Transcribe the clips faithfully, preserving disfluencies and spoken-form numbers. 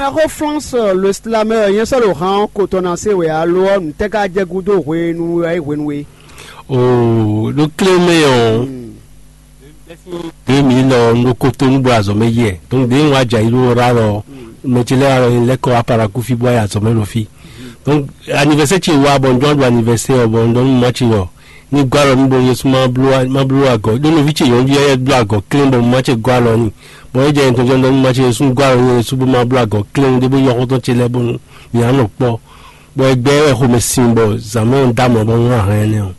Axó Flɔ́nsɔ lo slamɛ ɔ́ nyɛ sɔ́ ɖo han ɔ́ ko tɔn ná se wɛ alo ɔ́ nǔtɛ́ ka jɛ gúdo hwenu wɛ é hwenu e? Oo, ɖo klé mɛ ɔ́, ɖé mi lɔ un ɖo kotonu bɔ azɔ̌ mɛ yɛ. Donc ɖé un wá dza yi ɖó ra lɔ, mɛ ce lɛ́ alɔ lɛ́ kɔ aparaku fí bɔ azɔ̌ mɛ ɖo fí. Donc anniversaire ce wá bɔ un jɔ́n ɖo anniversaire ɔ́ bɔ un ɖɔ nú mama ce ɖɔ ní gɔ́ alɔ nú bɔ Yesu má bló má bló agɔ̌. Ɖó nɔví ce nyɔ̌nu yɛ bló agɔ̌ klɛ́n bɔ mama ce gɔ́ alɔ n'i. Bɔ é jɛ nyɛ tɔn jɔ́n ɖɔ nú mama ce Yesu gɔ́ alɔ nú Yesu bó má bló agɔ̌ klɛ́n ɖé bó yɔ xɔ́ntɔn ce lɛ́ɛ bónú mǐ á nɔ kpɔ́. Bɔ é gbɛ́ wɛ xomɛ sin bɔ zǎn mɛ ɔ́ dó amlɔ bɔ un wá hɛn énɛ́ ɔ́.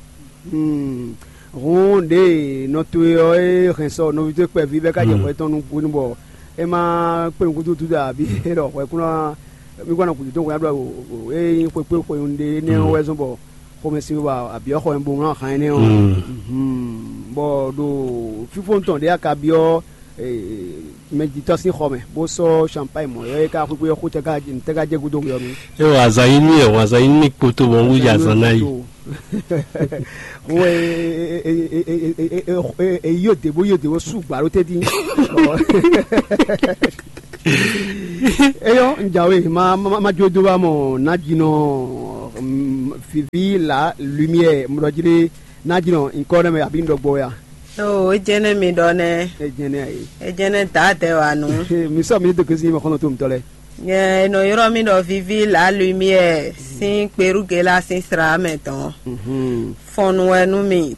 Hmm. Hǔn ɖěe nɔ towe ɔ́ e hɛn sɔ nɔví towe kpɛví bɛ́ ká jɛ hwɛ tɔn nukún bɔ é má kpé nukúntútú ɖo abǐ é ɖɔ hwɛ kún ná mí kún ná gǔdo dó hwɛ ná ɖɔ é nyí xwekpé xweyun ɖé énɛ́ ɔ́ wɛ zɔ́n bɔ xomɛsin wa abǐ ɔ́ xɔ mɛ bo wlán han énɛ́ ɔ́. Bɔ ɖo fífó tɔn ɖě aka byɔ́ mɛjitɔ́ sín xɔ mɛ bó sɔ́ champagne mɔ̌ ɔ́ é ká xwéxwé ɔ́ xó tɛ́ ká jɛ gúdo hwe ɔ́ mɛ. É wɔ azǎn yí nú yɛ, wɔ azǎn yí nú mì kpoto bɔ un wú yi azǎn ná yi. Wo e yi yóde bó yóde wó sú gbǎ ɖó tɛ́ntin. Eyɔ́ un jǎwe ma ma ma jó dó wá mɔ nájínɔ vivi la lumière mɔɖɔjlé nájínɔ nkɔ nɛ mɛ abí un ɖɔ gbɔ ya. Oo, é jɛ́n nɛ́ mi ɖɔ nɛ́. É jɛ́n nɛ́ ayi. É jɛ́n nɛ́ dǎ adɛ wǎ nú. Mi sɔ mi dó gosín ma xɔnɔ tó mutɔ lɛ. Nyɛ è nɔ ylɔ́ mì ɖɔ vivi la lumière sín kperúgela sín sra mɛ tɔn. Fɔnnu wɛ nú mi.